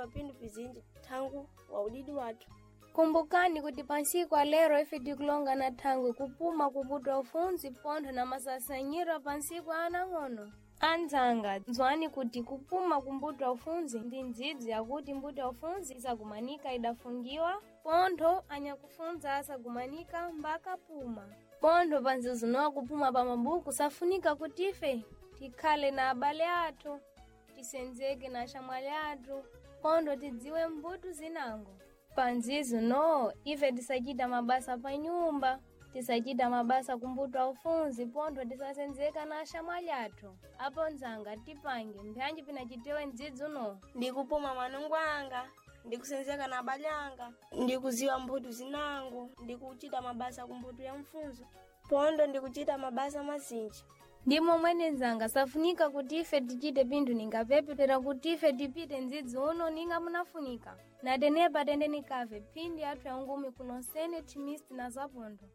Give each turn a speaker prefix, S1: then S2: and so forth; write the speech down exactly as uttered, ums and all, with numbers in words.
S1: Ndikuziwa pinthu pizinji thangu wa udidi wathu.
S2: Kumbukani kuti pansiku alero ife tikulonga na thangwi kupuma kuputwa ufunzi pontho na masasanyiro pansiku anang'ono. Anzanga, nzwani kuti kupuma kumbutwa ufunzi ndi ndzidzi yakuti mbuto ufunzi isagumanika idafungiwa pontho anyakufunza asagumanika mbaka puma. Pontho panzizunowa kupuma pa mabuku safunika kuti ife tikhale na abale athu, tisenzeke na axamwali athu, pontho tidziwe mbuto zinango. Panzizo no, ife tisachita mabasa pa nyumba, tisachita mabasa kumbuto ufunzi pontho tisasenzeka na axamwali athu. Apo nzanga tipange mbyanji pinachitiwe ndzidzi uno.
S1: Ndikupuma manungo anga, ndikusenzeka na abale anga, ndikuziwa mbuto zinango, ndikuchita mabasa kumbuto ya mfunzo. Pondo ndikuchita mabasa mazinji.
S2: Ndimo mwene nzanga safunika kuti ife tichite pinthu ningapepetera kuti ife tipite ndzidzi uno ninga munafunika. Natenepa tendeni kave phindi athu ya ngumi kunonsene thimisti na zapontho.